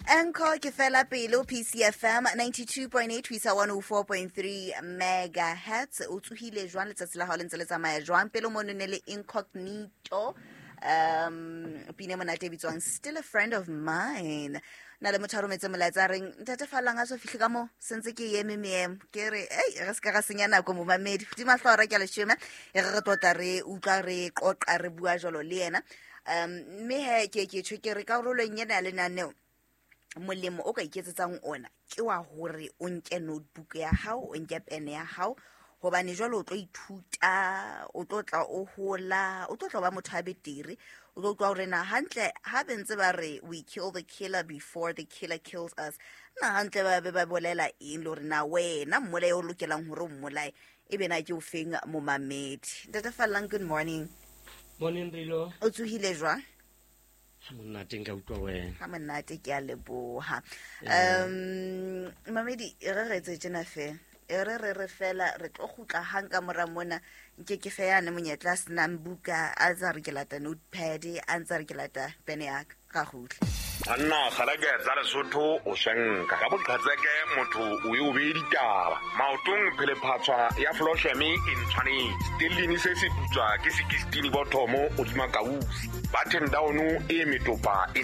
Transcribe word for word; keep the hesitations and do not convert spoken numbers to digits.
Anchor ke fela pele ho P C F M ninety-two point eight ho isa one oh four point three megahertz. O tsohile jwang? Letsatsi la hao le ntse le tsamaya jwang? Pele mono ne le Incognito, um pina e monate e bitswang "Still a Friend of Mine". Na le motho a rometse molaetsa a reng, "Ntate Fallang a so fihle ka mo sentse ke eme meemo." Ke re ei, re se ka ra senya nako, momamedi. Hodima hlora ke a leshome e re re tlotla, re utlwa, re qoqa, re bua jwalo le yena. um mme he ke ke tjho ke re karolong ena ya lenaneo, molemo o ka iketsetsang ona ke wa hore o nke notebook ya hao, o nke pene ya hao, hobane jwale o tlo ithuta, o tlo tla o hola, o tlo tla ba motho a betere, o tlo utlwa hore na hantle ha be ntse ba re, "We kill the killer before the killer kills us," na hantle ba be ba bolela eng, le hore na wena mmolae o lokelang hore o mmolae e be na ke o feng. Momamedi, Ntate Fallang, good morning. Morning, Rilo. O tsohile jwang? Ha monate, nka utlwa wena. Ha monate, ke a leboha. um mamedi, e re re etse tjena fela, e re re re fela re tlo kgutla hang ka mora mona. Nke ke fe yane monyetla a senang buka, a tsa re ke lata notepad, a ntse a re ke lata pene yaka, ra kgutla. Banna kgaleke tsa Lesotho, o shenka ka boqhetseke, motho o e o bee ditaba maotong. Phelephatshwa ya flosheme e ntshwanetse stellini se se putswa ke sekistini bothomo godima kausi button down e metopa e.